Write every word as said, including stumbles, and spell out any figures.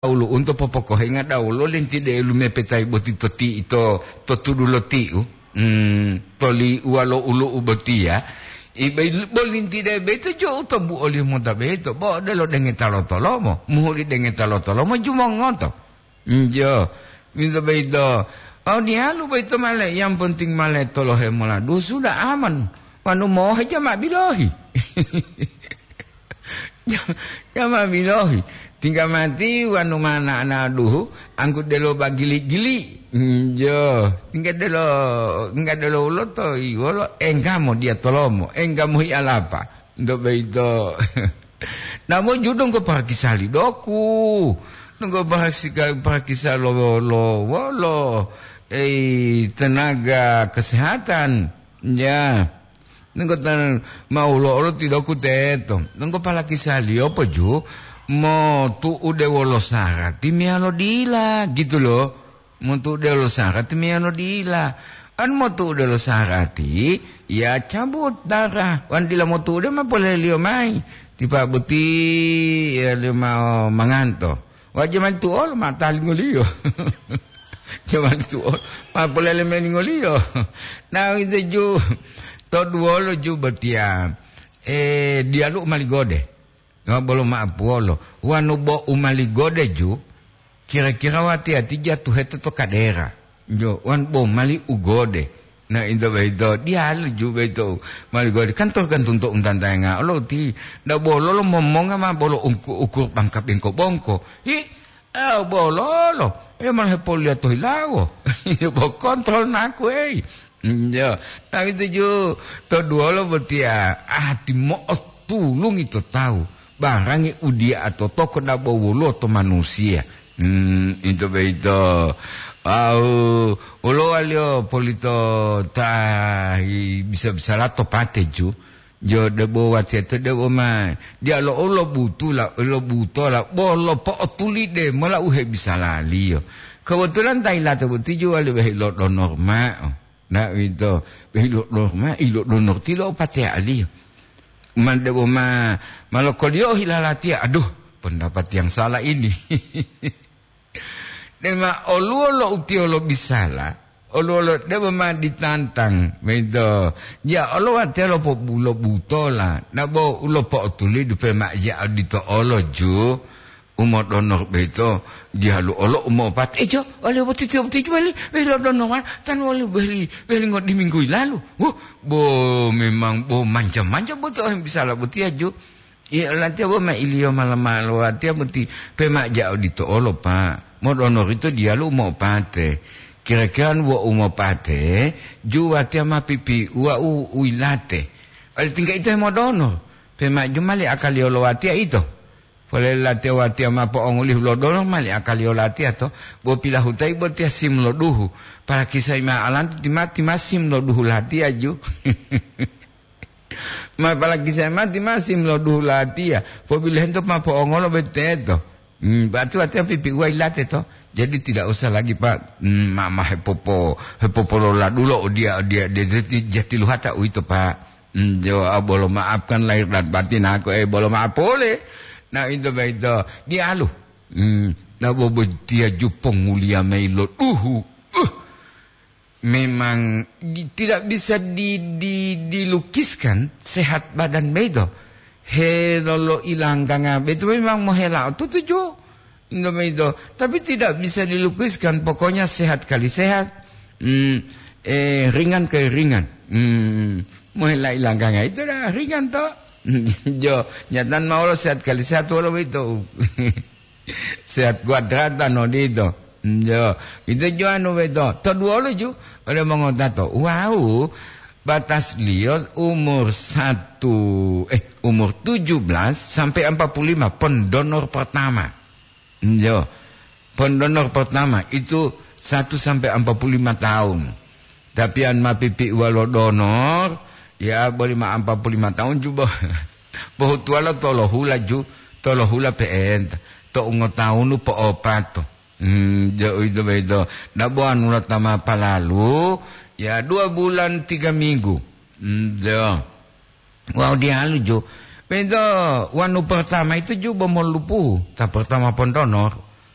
ulu'unto popokohenga dawolo lentide lumepetayi boti to ti-, to, to tudu lo tiu, hmm, to liuwa lo ulu'u botiya, i-, bo lintide boyito jo u to buoliyo mota boyito, bo odelo dengeta lo tolomo, muhuli dengeta lo tolomo jumongoto. Njo, wito boyito, wawu diyalu boyito ma le, yang penting ma le tolohe mola dusu da aman, wanu mohe jama bilohi. Jama bilohi, tingga mati wanu mana ana duhu, angku delo bagili-gili. Njo, tingga delo, tingga delo uloto, iwolo, enggamo diya tolomo, enggamo hi alapa. Nto boyito. Namo ju donggo parakisali doku. Donggo parakisali, parakisali lo, lo, wolo, ei, tenaga kesehatan. Ya. Nenggo tan-, mau lo'olo tiloku teto. Nenggo palakisaliyo poju, motu'ude wolo sarati meyalo dila, gitu lo. Motu'ude wolo sarati meyalo dila. An motu'ude wolo sarati, ya cabut darah. Wan dila motu'ude ma poleliyo mayi. Tipa boti, ya, liyo ma-, manganto. Wa jamani tu'olo ma talingoliyo. Jamani tu'olo ma polele melingoliyo. Na wito ju, to duwolo ju botiya, eh, diyalu u maligode. Wa bolo ma'apuwolo. Wanu bo u maligode ju, kira-kira wati-ati jatuhete to kadera. Jo, wan bo mali u gode. Na, into boyito, diyalu ju boyito, mali gode, kan tergantung to untantayenga. Olo ti, nda bololo momonga ma bolo ungku-, ukur bangka bengko-bongko. Hi, eh, bololo, eh, malah hepoliya to hilawo. Bo kontrol naku, ei. Jo, na, itu ju, to duwolo botiya, ati mo'otulungi to tawu, barangi u diya to toko dabo woluwo to manusiya. Hmm, ito boyito. Wawu, wolo waliyo polito ta hi-, bisa-bisala to pate ju. Jo debo watiya to debo ma. Diya lo, lo butula, lo butola, bolo po'otulide mola u hebisalaliyo. Kebetulan ta yilate boti ju wali wehi lo donor ma'o. Na, uwito, ilodonor ma, ilodonor tilo o pateya'aliyo. Man debo ma, ma lokoliyo hilalatiya, aduh, pendapat yang salah ini. Dema oluwo lo utiyo lobisala, oluwo lo debo ma ditantang, uwito. Ya Allah, watiya lopobulo butola, nabo u lopo'otulidu pe ma ya odito olo ju. Umodonor boyito diyalu olo umopate. Ejo, wali boti tiyo boti juwali, wehilo donor ma, tan wali wehli, wehli ngodiminggu yilalu. Wuh, bo memang bo manja-manja boti ohem bisala botiya ju. Iya, latiya bo ma iliyo mala-mala watiya boti pemaja odito olo, Pak. Modonor ito diyalu umopate. Kira-kira wo umopate, ju watiya ma pipiuwa u, u yilate. Wali tingga ito hemodonor. Pemaju mali akaliyo lo watiya ito. Polele latiya watiya ma po'ongulihu lo dolo mali akaliyo latiya to, bo pilahutayi botiya sim lo duhu. Palakisai mao alanto tima-tima sim lo duhu latiya ju. Ma palakisai mao tima sim lo duhu latiya. Pobilohento ma po'ongolo boteto. Hmm, berarti watiya pipiuwa yilate to. Jadi tidak usah lagi, Pak, hmm, ma, ma hepopo-, hepopololadulo odiya, odiya, de-, de-, jatiluhata uwito, Pak. Hmm, jo, ah, bolo maafkan lahir dan batin aku, eh, bolo maaf pole. Nah, itu, itu. Diyalu. Hmm, nah, bobo dia ju ponguliya mayi lo duhu. Uh, memang di-, tidak bisa di-, di-, dilukiskan sehat badan beto. He lolo ilangganga beto memang mohela tutuju. Indomie itu, tapi tidak bisa dilukiskan, pokoknya sehat kali sehat, hmm, eh, ringan kali ringan. Hmm, mohela ilangganga itu dah ringan to. Jo, nyatan mawolo sehat kali sehat wolo itu. Sehat kuadratan odito. Jo, itu jo anu itu. To duwolo ju, ada mongotato. Wow, batas liyo umur satu, eh, umur tujuh belas sampai empat puluh lima, pendonor pertama. Yo, pendonor pertama itu satu sampai empat puluh lima tahun. Tapi an ma pipiuwa lo donor, ya, boli ma empat puluh lima tahun ju bo-, bohutuwalo tolohula ju, tolohula pe'enta, to ungotawunu po'opato. Hmm, jo, uwito boyito. Dabo anula ta ma palalu, ya, dua bulan tiga minggu. Hmm, jo. Wawu diyalu ju. Pento wanu pertama itu ju bo molupu, ta pertama pondonor,